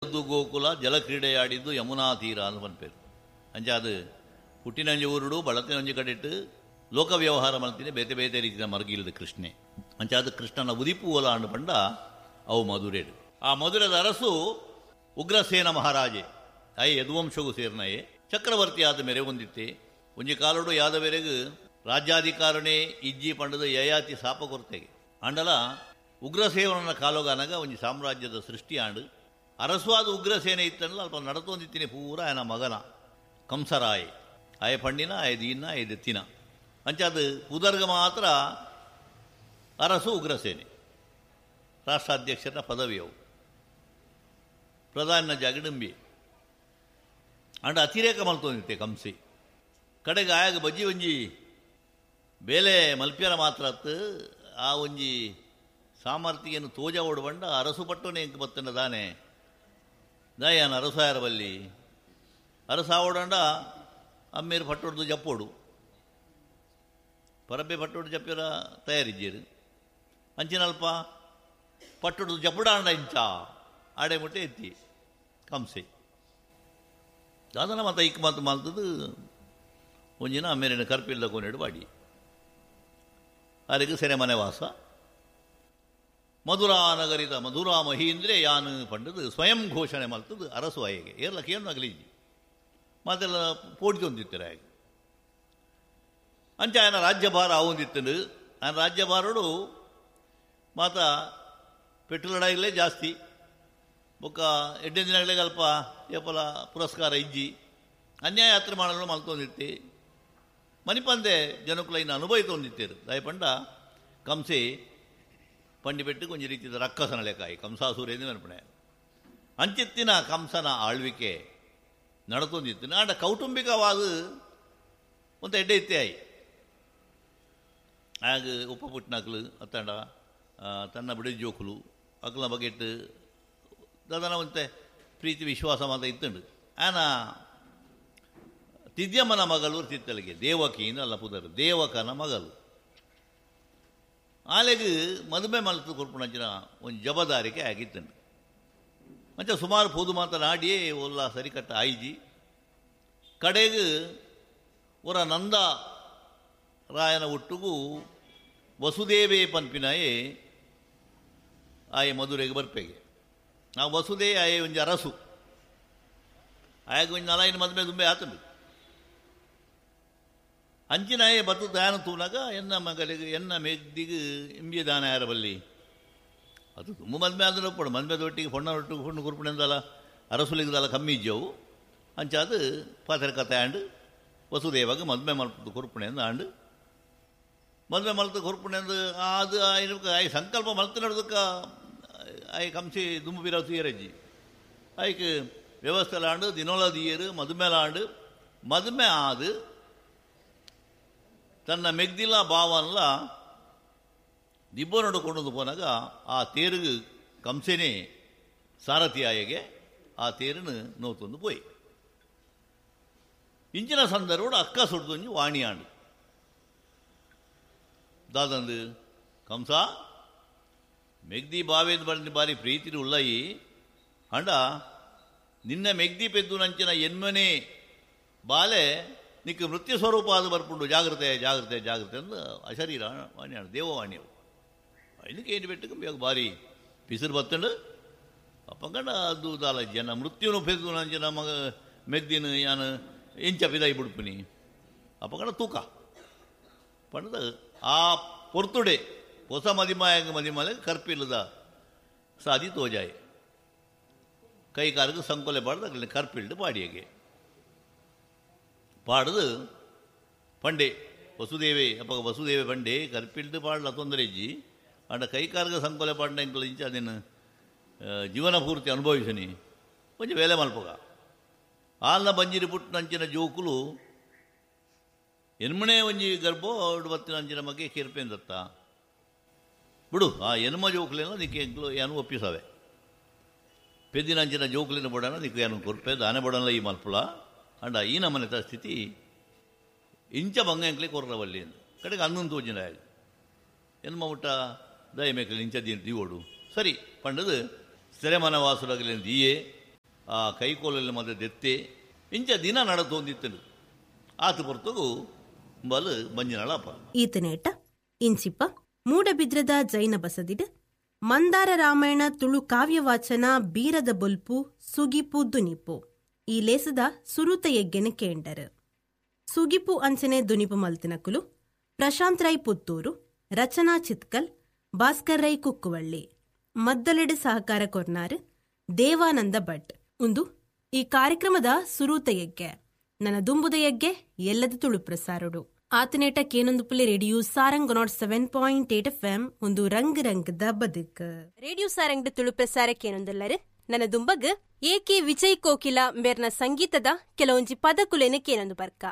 ಗೋಕುಲ ಜಲಕ್ರೀಡೆಯಾಡಿದ್ದು ಯಮುನಾ ತೀರ ಅಂತ ಪನ್ಪೇರು. ಅಂಚಾದ ಪುಟ್ಟಿನಂಜಿ ಊರುಡು ಬಳತಿನಂಜಿ ಕಡೆಟ್ಟು ಲೋಕ ವ್ಯವಹಾರ ಮಲ್ತಿನ ಬೇತೆ ಬೇತೆ ರೀತಿಯ ಮರ್ಗಿಲ್ದ ಕೃಷ್ಣೆ. ಅಂಚಾದ ಕೃಷ್ಣನ ಉದಿಪು ಓಲ ಅಂಡು ಪಂಡ ಅವು ಮಧುರೇಡು. ಆ ಮಧುರದ ಅರಸು ಉಗ್ರಸೇನ ಮಹಾರಾಜೆ I ಯದುವಂಶಗೂ ಸೇರ್ನಯೇ ಚಕ್ರವರ್ತಿ ಆದ ಮೇರೆ ಹೊಂದಿತ್ತೆ. ಒಂಜಿ ಕಾಲೋಡು ಯಾದವೆರೆಗು ರಾಜ್ಯಾಧಿಕಾರನೇ ಇಜ್ಜಿ ಪಂಡದ ಯಯಾತಿ ಶಾಪ ಕೊರತೆಗೆ ಅಂಡಲ ಉಗ್ರಸೇವನ ಕಾಲೋಗಾನಗ ಒಂಜಿ ಸಾಮ್ರಾಜ್ಯದ ಸೃಷ್ಟಿ ಆಂಡು ಅರಸುವಾದ ಉಗ್ರಸೇನೆ ಇತ್ತಲ್ಲ ಅಲ್ಪ ನಡತೊಂದಿತ್ತೀನಿ ಪೂರ ಆಯನ ಮಗನ ಕಂಸರಾಯ್ ಆಯ ಪಂಡಿನ ಆಯ ದೀನ ಆಯ ದೆತ್ತಿನ ಅಂಚಾದ ಪುದರ್ಗ ಮಾತ್ರ ಅರಸು ಉಗ್ರಸೇನೆ ರಾಷ್ಟ್ರಾಧ್ಯಕ್ಷರ ಪದವಿಯವು ಪ್ರಧಾನ ಜಾಗಡಂಬಿ ಅಂಡ ಅತಿರೇಕ ಮಲ್ತೊಂದಿತ್ತೆ ಕಂಸಿ ಕಡೆಗೆ ಆಯಾಗ ಬಜ್ಜಿ ಒಂಜಿ ಬೇಲೆ ಮಲ್ಪಿಯರ ಮಾತ್ರ ಆ ಒಂಜಿ ಸಾಮರ್ಥ್ಯನು ತೋಜ ಓಡಬಂಡ ಅರಸು ಪಟ್ಟೋನೆ ಇಂಕ್ ಬತ್ತನ ದಾನೆ ದಾಯಾನ ಅರಸಾಯರ ಬಲ್ಲಿ ಅರಸ ಓಡಂಡ ಅಮ್ಮೇರು ಪಟ್ಟೊಡ್ದು ಜಪ್ಪೋಡು ಪರಬ್ಬೆ ಪಟ್ಟೊಡ್ದು ಜಪ್ಪಿರ ತಯಾರಿದ್ದೀರು ಅಂಚಿನಲ್ಪ ಪಟ್ಟೊಡ್ದು ಜಪ್ಪುಡಾಂಡ ಇಂಚ ಆಡೆ ಮುಟ್ಟೆ ಎತ್ತಿ ಕಂಸೆ ದಾದನ ಮತ ಇಕ್ ಮಾತು ಮಾಲ್ತದ್ದು ಒಂಜಿನ ಅಮ್ಮೇರಿನ ಕರ್ಪಿಲ್ಲ ಕೋನೆಡು ಬಾಡಿ ಅದಕ್ಕೆ ಸೆರೆಮನೆ ವಾಸ ಮಧುರಾ ನಗರಿದ ಮಧುರಾ ಮಹೀಂದ್ರೆ ಯಾನು ಪಂಡದು ಸ್ವಯಂ ಘೋಷಣೆ ಮಲ್ತದ್ದು ಅರಸು ಆಯೆಗೆ ಏರ್ಲಕ್ಕೆ ಏನು ಅಗಲಿಜಿ ಮಾತೆಲ್ಲ ಪೋಡಿತೊಂದಿತ್ತರ ಆಗ ಅಂಚ ఆయన ರಾಜ್ಯಭಾರ ಆವೊಂದಿತ್ತಂಡು ఆయన ರಾಜ್ಯಭಾರಡು ಮಾತ ಪೆಟ್ರೋಲ್ ಜಾಸ್ತಿ ಬೊಕ್ಕ ಎಡ್ಡೆ ದಿನಗಳೇ ಅಲ್ಪ ಏಪಲ ಪುರಸ್ಕಾರ ಇಜ್ಜಿ ಅನ್ಯಾಯ ಯಾತ್ರೆ ಮಾಡಲು ಮಲ್ತೊಂದಿತ್ತಿ ಮನಿಪಂದೆ ಜನಕುಲೈನ ಅನುಭವ ತೊಂದಿತ್ತೇರು ದಯಪಂಡ ಕಂಸೆ ಪಂಡಿ ಕೊಂಚ ರೀತಿಯ ರಕ್ಕಸನ ಲೆಕ್ಕಾಯಿ ಕಂಸಾಸುರೇಂದು ನೆನಪಣೆ ಅಂಚಿತ್ತಿನ ಕಂಸನ ಆಳ್ವಿಕೆ ನಡತೊಂದಿತ್ತು ನಾಡ ಕೌಟುಂಬಿಕವಾದ ಒಂದು ಎಡ್ಡೆ ಇತ್ತೆ ಆಯಿ ಆಗ ಉಪ್ಪ ಪುಟ್ಟಿನಕ್ಲು ಅತ್ತಂಡ ತನ್ನ ಬಿಡಿ ಜೋಕುಲು ಅಕ್ಲ ಬಗೆಟ್ಟು ದಾದನ ಒಂತೆ ಪ್ರೀತಿ ವಿಶ್ವಾಸ ಮಾತ ಇತ್ತುಂಡು ಆನ ತಿದ್ಯಮ್ಮನ ಮಗಳು ತಿತ್ತಲಿಗೆ ದೇವಕಿನ ಅಲ್ಲ ಪುದರ್ ದೇವಕನ ಮಗಳು ಆಲೆಗ್ ಮದುವೆ ಮಲ್ತು ಕೊರ್ಪುಣಂಚಿನ ಒಂದು ಜಬದಾರಿಕೆ ಆಗಿತ್ತಂಡು ಮಂಚ ಸುಮಾರು ಪೋದು ಮಾತನಾಡಿಯೇ ಒಲ್ಲ ಸರಿಕಟ್ಟ ಆಯ್ಜಿ ಕಡೆಗೆ ಒರ ನಂದ ರಾಯನ ಒಟ್ಟುಗೂ ವಸುದೇವೇ ಪನ್ಪಿನಾಯೇ ಆಯೆ ಮಧುರೆಗೆ ಬರ್ಪೆಗೆ ಆ ವಸುದೇ ಆಯೆ ಒಂಜಿ ಅರಸು ಆಯಾಗ ಒಂಜಿ ನಲಾಯಿನ ಮದುವೆ ದುಂಬೆ ಆತಂಡು ಅಂಚಿನಾಯೆ ಬತ್ತು ದಾನ ತೂನಾಗ ಎನ್ನ ಮಗಳಿಗೆ ಎನ್ನ ಮೆದ್ದಿಗೆ ಇಂಬಿಯ ದಾನ ಯಾರ ಬಲ್ಲಿ ಅದು ತುಂಬ ಮದ್ಮೆ ಆದ್ರೆ ಒಪ್ಪಡು ಮದ್ಮೆ ಒಟ್ಟಿಗೆ ಹೊಣ್ಣ ಒಟ್ಟಿಗೆ ಹೊಣ್ಣು ಕುರ್ಪಣೆಂದಲ್ಲ ಅರಸುಲಿಗದಲ್ಲ ಕಮ್ಮಿ ಇಜ್ಜವು ಅಂಚಾದು ಪಾತ್ರ ಕಥೆ ಆಂಡು ವಸುದೇವಾಗ ಮದ್ಮೆ ಮಲ್ಪದ ಕುರ್ಪಣೆಂದು ಆಂಡು ಮದ್ಮೆ ಮಲ್ತ ಕುರ್ಪಣೆಂದು ಅದು ಆಯ್ ಸಂಕಲ್ಪ ಮಲ್ತ ನಡ್ದಕ್ಕ ಆಯ್ ಕಂಸಿ ದುಂಬು ಬಿರ ತೀರಜ್ಜಿ ಆಯ್ಕೆ ವ್ಯವಸ್ಥೆಲಾಂಡು ದಿನೋಲ ದಿಯರು ಮದುಮೆಲಾಂಡು ಮದುಮೆ ಆದು ತನ್ನ ಮೆಗ್ದಿಲ್ಲ ಭಾವನ್ಲ ದಿಬ್ಬ ನಡುಕೊಂಡು ಪೋನಾಗ ಆ ತೇರುಗು ಕಂಸೆನೇ ಸಾರಥಿಯಾಯಗೆ ಆ ತೇರನ್ನು ನೋತೊಂದು ಪೋಯಿ ಇಂಚಿನ ಸಂದರ್ಭ ಅಕ್ಕ ಸುಡ್ದೊಂಜಿ ವಾಣಿಯಾಂಡು ದಾದಂದು ಕಂಸ ಮೆಗ್ದಿ ಬಾವೇದ ಬಂದು ಬಾರಿ ಪ್ರೀತಿರು ಉಳ್ಳಯಿ ಅಂಡ ನಿನ್ನ ಮೆಗ್ದಿ ಪೆದ್ದು ನಂಚಿನ ಎನ್ಮನೆ ಬಾಲೆ ನಿಕ್ಕ ಮೃತ್ಯು ಸ್ವರೂಪ ಅದು ಬರ್ಪುಂಡು ಜಾಗ್ರತೆ ಜಾಗ್ರತೆ ಜಾಗ್ರತೆ ಅಂದು ಅಶರೀರ ವಾಣಿಯಾಡು ದೇವವಾಣಿಯವು ಇದಕ್ಕೆ ಏನು ಬೆಟ್ಟಕ್ಕೆ ಭಾರಿ ಪಿಸಿರು ಬತ್ತಂಡು ಅಪ್ಪಂಗಂಡ ಅದು ದಾಲ ಜನ ಮೃತ್ಯುನು ಪೆದ್ದು ನಂಚಿನ ಮಗ ಮೆದ್ದಿನ ಯಾನು ಎಂಚ ಪಿದಾಯಿ ಬಿಡ್ಪಿನಿ ಅಪ್ಪಂಗಂಡ ತೂಕ ಪಂಡದ ಆ ಪೊರ್ತುಡೆ ಹೊಸ ಮದಿಮಾಯಂಗ ಮದಿಮಾಲೆ ಕರ್ಪಿಲ್ಲದ ಸಾದಿ ತೋಜಾಯಿ ಕೈ ಕಾಲಿಗೆ ಸಂಕೊಲೆ ಪಾಡ್ದು ಅಗಲಿನ ಕರ್ಪಿಲ್ಡು ಪಾಡಿಯಗೆ ಪಾಡ್ದು ಪಂಡೆ ವಸುದೇವೆ ಅಪ್ಪ ವಸುದೇವೆ ಪಂಡೆ ಕರ್ಪಿಲ್ಡು ಪಾಡಲ ತೊಂದರೆ ಇಜ್ಜಿ ಅಂಡ ಕೈ ಕಾಲಿಗೆ ಸಂಕೊಲೆ ಪಾಡ್ನ ಇಂಕಲ ಇಂಚ ಅದೇನು ಜೀವನ ಪೂರ್ತಿ ಅನುಭವಿಸನಿ ಒಂಜಿ ವೇಲೆ ಮಲ್ಪಗ ಆಲ್ನ ಬಂಜಿರಿ ಪುಟ್ಟನಂಚಿನ ಜೋಕುಲು ಎನ್ಮಣೆ ಒಂಜಿ ಗರ್ಭೋ ಬತ್ತಿನಂಚಿನ ಬಗ್ಗೆ ಕಿರ್ಪೆಂದತ್ತ ಬಿಡು ಆ ಎನ್ಮ ಜೋಕುಲೇನ ನಿಕ್ಕೆ ಎಂಕ್ಲು ಏನು ಒಪ್ಪಿಸವೆ ಪೆದ್ದಿನಂಚಿನ ಜೋಕುಲಿನ ಬಡನ ನಿಕ್ಕು ಏನು ಕೊರ್ಪೆ ದಾನೆ ಬಡನ ಈ ಮಲ್ಪುಲ ಅಂಡ ಈ ನಮ್ಮನೆತ ಸ್ಥಿತಿ ಇಂಚ ಬಂಗ ಎಂಕ್ಲೆ ಕೊರ್ರವಲ್ಲಿ ಕಡೆಗೆ ಅನ್ನೊಂದು ತೋಜಿನ ಎನ್ಮ ಮುಟ್ಟ ದಯ ಮೇಕಲಿ ಇಂಚ ದೀವೋಡು ಸರಿ ಪಂಡದು ಸೆರೆಮನ ವಾಸುಲಗಲಿ ದೀಯೆ. ಆ ಕೈಕೋಲಲ್ಲಿ ಮದ ದೆತ್ತೆ ಇಂಚ ದಿನ ನಡತೊಂದಿತ್ತನು ಆತ ಪೊರ್ತುಗು ಬಲು ಬಂಜಿನಳಪ್ಪ. ಈತನೇಟ ಇಂಚಿಪ ಮೂಡಬಿದ್ರದ ಜೈನ ಬಸದಿಡ್ ಮಂದಾರ ರಾಮಾಯಣ ತುಳು ಕಾವ್ಯವಾಚನ ಬೀರದ ಬೊಲ್ಪು ಸುಗಿಪು ದುನಿಪು ಈ ಲೇಸದ ಸುರುತ ಯಜ್ಞನ ಕೇಂಡರ್. ಸುಗಿಪು ಅಂಚನೆ ದುನಿಪು ಮಲ್ತಿನಕುಲು ಪ್ರಶಾಂತ್ ರೈ ಪುತ್ತೂರು, ರಚನಾ ಚಿತ್ಕಲ್, ಭಾಸ್ಕರ್ ರೈ ಕುಕ್ಕುವಳ್ಳಿ, ಮದ್ದಲೆಡೆ ಸಹಕಾರ ಕೊರ್ನಾರ್ ದೇವಾನಂದ ಭಟ್. ಉಂದು ಈ ಕಾರ್ಯಕ್ರಮದ ಸುರೂತ ಯಜ್ಞೆ. ನನ್ನ ದುಂಬುದ ಯಜ್ಞೆ ಎಲ್ಲದ ತುಳು ಪ್ರಸಾರಡು. ಆತನೇಟ ಕೇನೊಂದು ಪುಲೆ ರೇಡಿಯೋ ಸಾರಂಗ್ 107.8 ಎಫ್ ಒಂದು ರಂಗ್ ರಂಗದ ಬದುಕು. ರೇಡಿಯೋ ಸಾರಂಗ್ ತುಳು ಪ್ರಸಾರ ಕೇನೊಂದಲ್ಲರು ನನ್ನ ದುಂಬಗ್ ಎ ಕೆ ವಿಜಯ್ ಕೋಕಿಲ ಮೇರ್ನ ಸಂಗೀತದ ಕೆಲವೊಂಜಿ ಪದಕುಲೇನ ಕೇನೊಂದು ಬರ್ಕ.